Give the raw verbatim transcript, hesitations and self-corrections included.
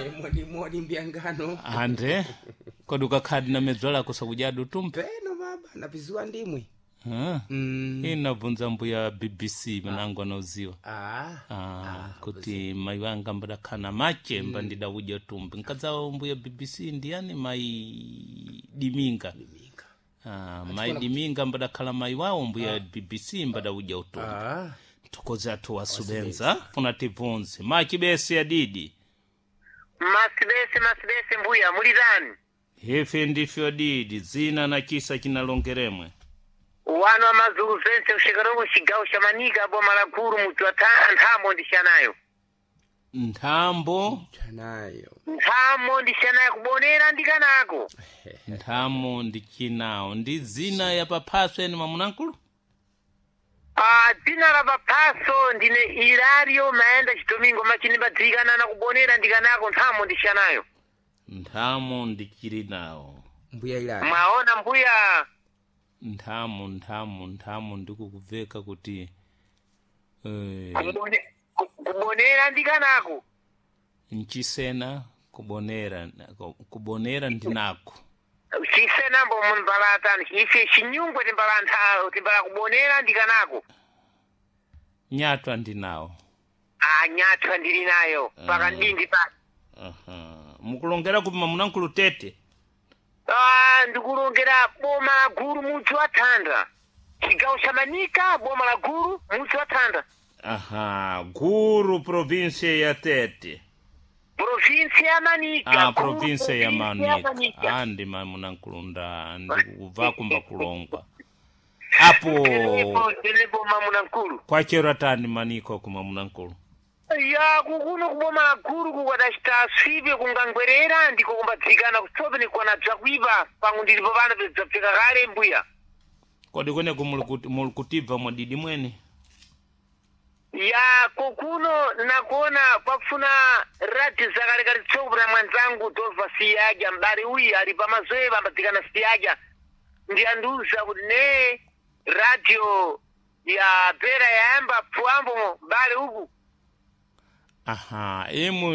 Moni moni mbyangano. Ande kodi ukakhadi na medzwa lako sakudya utumbi? Peno baba, napizua ndimwe. Ah. Mm. Inabvunza mbuya B B C manangu anauziwa. Ah. Ah, kuti mai wanga mbadakhana mache mba ndidawudya utumbi nkadzawo mbuya B B C ndiyani? Mai Diminga. Minga. Ah, mai Diminga mbadakhala mai wawo mbuya B B C mbadawudya utumbi. Ah. Thokoze athu wasubenza funa tibvunze machibese adidi. Masibese, masibese mbuya, muli tani? Ife ndife adidi. Dzina na chisa chinalongeremwe? Wano amazulu vense kushekarongo, chigawo cha Manika, boma la Guru, mudzi wa Tha- Nthamo ndishanayo. Nthambo. Chanayo. Nthamo ndishanayo, kubonera ndikanako. Nthamo ndi chinawo ndi dzina ya paphaso eni mamunankulu? Ah, dzina la paphaso ndine Ilario Maenda Chidomingo, machinimbadzikana na kubonera ndikanako, Nthamo ndishanayo. Nthamo ndichili nawo. Mbuya Ilali. Mwaona mbuya? Nthamo, nthamo, nthamo ndikukubveka kuti eh, Kubone- ku- kubonera ndikanako. nchisena kubonera, kubonera ndinako. Chisenambo mumbalatani ife chinyungwe timbala ntha- timbala kubonera ndikanako. Nyatwa ndinawo. Ah, nyathwa ndili nayo pakandindi pa. Aha. Mukulongera kupi mamunankulu tete? Ah, ndikulongera boma la Guru, mudzi wa Thanda, chigawo cha Manika, boma la Guru, mudzi wa Thanda. Aha, Guru, província ya Tete. Província ya Manika. Ah, Guru, província ya província Manika. Ah, ndi mamunankulu nda ndikubva kumba kulongwa apo. Tenepo, tenepo mamunankulu. Kwachero atani maniko kumamunankulu? Ya, kukuno kuboma la Guru kukwadacita aswipe kungangwerera ndiko kumbadzikana kutsope nikwana bzakwipa pangu ndilipo pano bzabveka kale mbuya. Kodi kweneku muli kutibva mwadidi mwene? Ya, kokuno nakuona kwakufuna radio zakalekale tsopo na mwanzangu tobva siyadya mbali uyi ali pamazoepa ambadzikana siyadya ndiyandiuza kuti ne radio ya bera yayamba pfuambo mbali uku. Aha, imu.